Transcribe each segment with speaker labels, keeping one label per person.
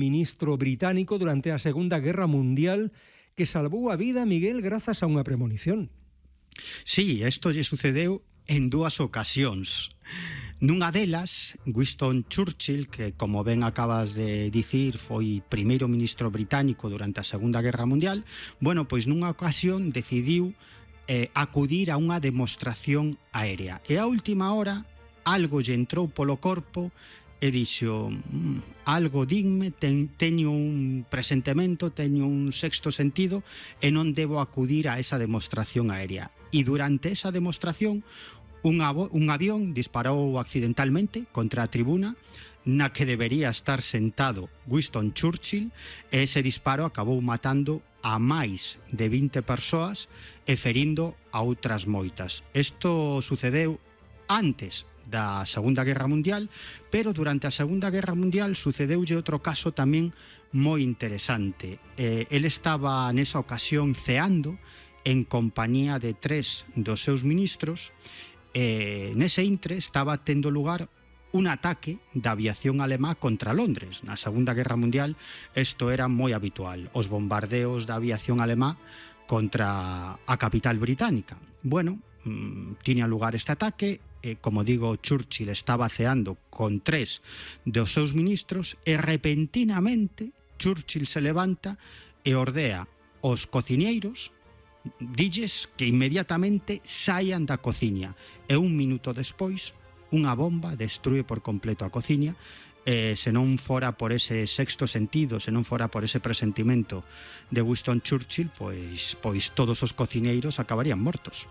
Speaker 1: ministro británico durante a Segunda Guerra Mundial que salvou a vida a Miguel grazas a unha premonición.
Speaker 2: Sí, isto lle sucedeu en dúas ocasións. Nunha delas, Winston Churchill, que como ben acabas de dicir foi primeiro ministro británico durante a Segunda Guerra Mundial, bueno, pois nunha ocasión decidiu acudir a unha demostración aérea. E a última hora algo lle entrou polo corpo e dixo, algo digme, teño un presentimento, teño un sexto sentido e non debo acudir a esa demostración aérea. E durante esa demostración un avión disparou accidentalmente contra a tribuna na que debería estar sentado Winston Churchill e ese disparo acabou matando a máis de 20 persoas e ferindo a outras moitas. Isto sucedeu antes da Segunda Guerra Mundial, pero durante a Segunda Guerra Mundial sucedeulle outro caso tamén moi interesante. El estaba nesa ocasión ceando en compañía de 3 dos seus ministros. Nese intre estaba tendo lugar un ataque da aviación alemá contra Londres. Na Segunda Guerra Mundial isto era moi habitual, os bombardeos da aviación alemá contra a capital británica. Bueno, tiña lugar este ataque, como digo, Churchill estaba ceando con 3 dos seus ministros e repentinamente Churchill se levanta e ordea aos cociñeiros, dilles que inmediatamente saian da cociña e un minuto despois unha bomba destrúe por completo a cociña e se non fora por ese sexto sentido, se non fora por ese presentimento de Winston Churchill, pois todos os cociñeiros acabarían mortos.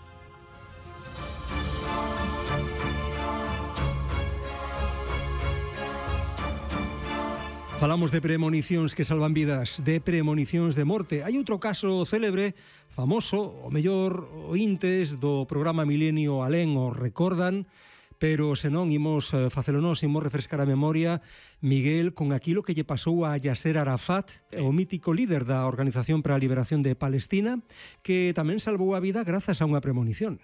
Speaker 1: Falamos de premonicións que salvan vidas, de premonicións de morte. Hai outro caso célebre, famoso, o mellor ointes do programa Milenio Alén o recordan, pero se non imos facelo nós, imos refrescar a memoria, Miguel, con aquilo que lle pasou a Yasser Arafat, o mítico líder da Organización para a Liberación de Palestina, que tamén salvou a vida grazas a unha premonición.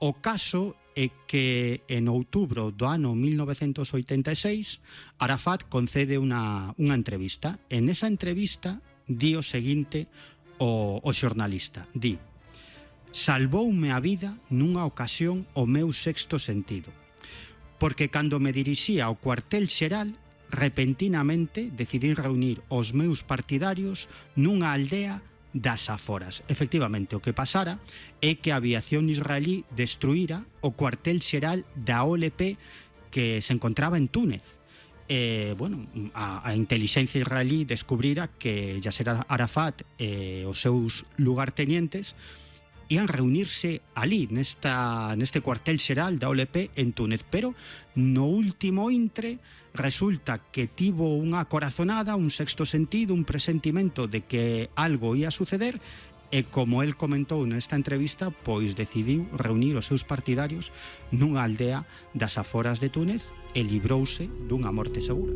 Speaker 2: O caso é que en outubro do ano 1986 Arafat concede unha entrevista. En esa entrevista di o seguinte o xornalista, di: salvoume a vida nunha ocasión o meu sexto sentido, porque cando me dirixía ao cuartel xeral repentinamente decidín reunir os meus partidarios nunha aldea das aforas. Efectivamente, o que pasara é que a aviación israelí destruíra o cuartel xeral da OLP que se encontraba en Túnez. A intelixencia israelí descubrira que Yasser Arafat e os seus lugartenientes ian reunirse ali, neste cuartel xeral da OLP en Túnez, pero no último intre resulta que tivo unha corazonada, un sexto sentido, un presentimento de que algo ia suceder e, como el comentou nesta entrevista, pois decidiu reunir os seus partidarios nunha aldea das aforas de Túnez e librouse dunha morte segura.